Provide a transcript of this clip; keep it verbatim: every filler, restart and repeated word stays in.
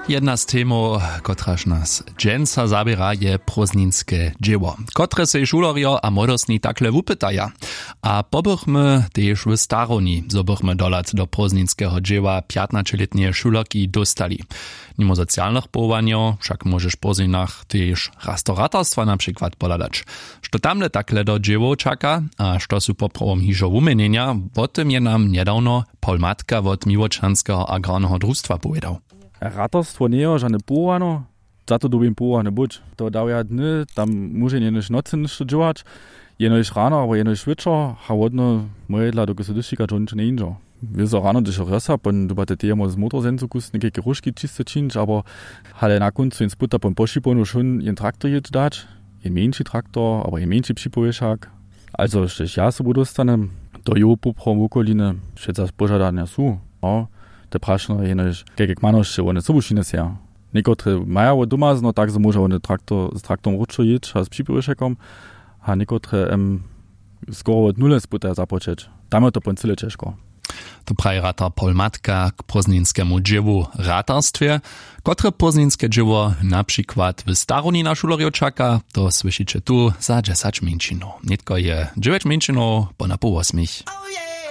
Jedna z temow, kotraž nas dźensa zaběra, je prózdninske dźěło, kotre sej šulerjo a młodostni takle wupytaja. A pobychmy tež w starowni, zo bychmy dohlad do prózdninskeho dźěła pjatnaćelětneje šulerki dóstali. Nimo socialnych powołanjow wšak móžeš w prózdninach tež raz do ratarstwa na přikład pohladać, što tamle takle do dźěłow čaka a što su poprawom hižo wuměnjenja, wo tym je nam njedawno Paul Matka wot Miłočanskeho agrarneho drustwa powědał. Ratarstwo njejo žane powołano, za to dyrbi powołany być. To dawja dny, tam móže jenož nocy něšto dźěłać, jenož rano abo jenož wječor, a wodno mojedla dokelž so dyšćika dźo ničo njejindźo. Wězo rano, hdyž rjosa pon dyrbate teje móc z motorzencu kus někajke róžki čiste čińć, abo hale na kóncu jen sputa pon pošipownu wšón jen traktor jěć dać, jen mjeńši traktor abo jen mjeńši připowěšak. Also štož ja sobu dóstanem, to jow poprawom wokoliny, wšetza požadanja su, no, te prašno jenož kajke kmanosće wone sobu wšinje seja. Někotre maja wot domazno, tak zo móža wone traktor z traktorom wróćo jěć a z připowěšakom, a někotre em skoro wot nule spytaja započeć. Tam je to pon cyle ćežko. To praji ratar Paul Matka k prózdninskemu dźěłu w ratarstwje. Kotre prózdninske dźěło na přikład w starowni na šulerjow čaka, to słyšiće tu za dźesać mjeńšinow. Nětko je dźewjeć mjeńšinow po na poł wosmich.